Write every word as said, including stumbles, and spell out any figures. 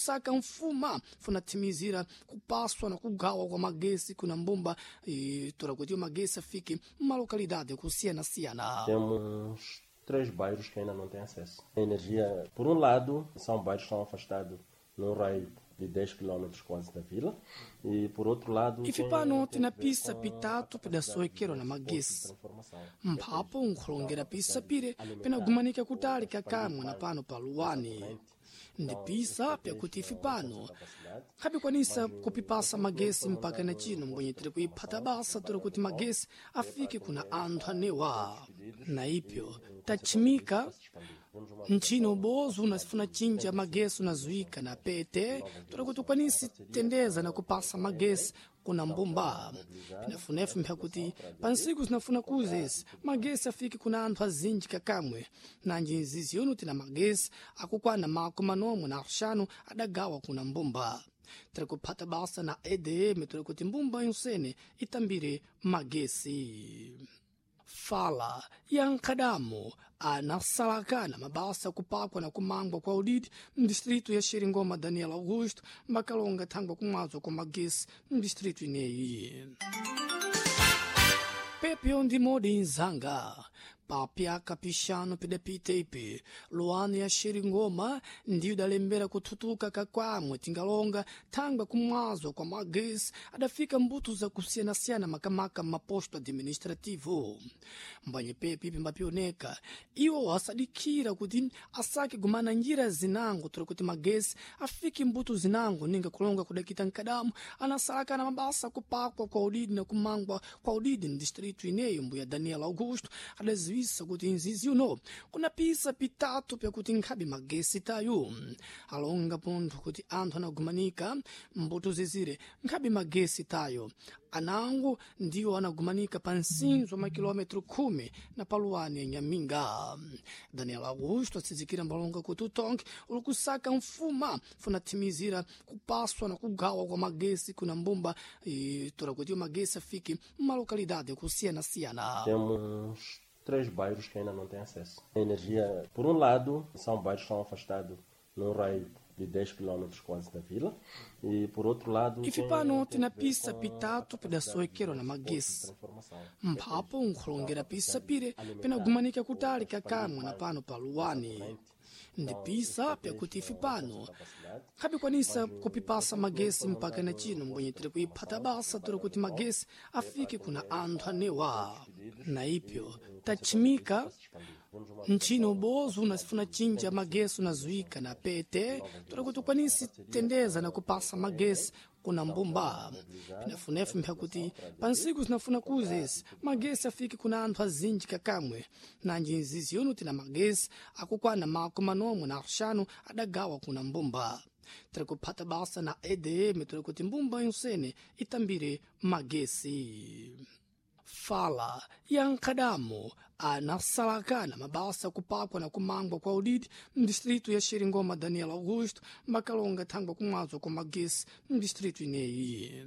kusaka mfuma funathimizira kupaswa na kugawa kwa magesi kuna mbumba e, tora kuti magesi afike malokalidade kusiyana-siyana. Temos três bairros que ainda não têm acesso. A energia, por um lado, são bairros que estão afastados num raio de dez quilômetros quase da vila, e por outro lado, ife tem- pano tem tina que ver pisa com a pitatu capacidade pidasoekero na de magesi transformação. mphapo nkhulongera pisa pire pinagumanika kutali kakamwe na pano pa luwani ndi pisa pyakuti ife pano khabikwanisa kupipasa magesi mpaka na chino mbwenye tiri kuiphata basa tori kuti magesi afike kuna anthu anewa na ipyo tachimika nchino bozo unasifuna chinja magesi unazuika na pete tori kuti ukwanisi tendeza na kupasa magesi kuna mbumba pinafunefu mpyakuti pansiku zinafuna kuzesi magesi afike kuna anthu azinji kakamwe nanji nzizi yono tina magesi akukwana mako manomwe na axanu adagawa kuna mbumba tiri kuphata basa na E D M tiri kuti mbumba yonsene itambire magesi. Fala ya nkhadamo anasalakana mabasa kupakwa na kumangwa kwa udidi mdistritu ya Xeringoma Daniel Augusto makalonga thangwa kumwazo kwa magesi mdistritu ineyi. Pepyo ndi modi nzanga papyaka pixanu pidapita ipi luwani ya Xeringoma ndiyo idalembera kuthutuka kakwamwe tingalonga thangwa kumwazo kwa magesi adafika mbuto zakusiyanasiyana makamaka maposto administrativo mbanye pepi pimbapioneka iwo asadikira kuti asake gumana njira zinango tori kuti magesi afike mbuto zinango ninga kulonga kudakita nkadamu anasalakana mabasa kupakwa kwa udidi na kumangwa kwa udidi mdistritu ineyo. Mbuya Daniel Augusto adaziwisa kuti nzizi uno kuna pisa pitatu pyakuti nkhabe magesi tayo alonga pontho kuti anthu anagumanika mbuto zizire nkhabe magesi tayo anango ndiwo anagumanika pa nsinzo makilometro khumi na paluwani ya Nyaminga. Daniel Augusto atsizikira mbalonga kuti utonke uli kusaka mfuma funathimizira kupaswa na kugawa kwa magesi kuna mbumba e, tora kuti magesi afike malokalidade kusiyana-siyana. Temos três bairros que ainda não têm acesso. A energia, por um lado, são bairros que estão afastados num raio de dez quilômetros quase da vila, e por outro lado, ife tem- pano tem tina que ver pisa com a pitatu capacidade pidasoekero na de magesi transformação. mphapo nkhulongera pisa pire pinagumanika kutali kakamwe na pano pa luwani ndi pisa pyakuti ife pano khabikwanisa kupipasa magesi mpaka na chino mbwenye tiri kuiphata basa tori kuti magesi afike kuna anthu anewa na ipyo tachimika nchino bozo unasifuna chinja magesi unazuika na pete tori kuti ukwanisi tendeza na kupasa magesi kuna mbumba pinafunefu mpyakuti pansiku zinafuna kuzesi magesi afike kuna anthu azinji kakamwe nanji nzizi yono tina magesi akukwana mako manomwe na axanu adagawa kuna mbumba tiri kuphata basa na E D M tiri kuti mbumba yonsene itambire magesi. Fala ya nkhadamo anasalakana mabasa kupakwa na kumangwa kwa udidi mdistritu ya Xeringoma Daniel Augusto makalonga thangwa kumwazo kwa magesi mdistritu ineyi.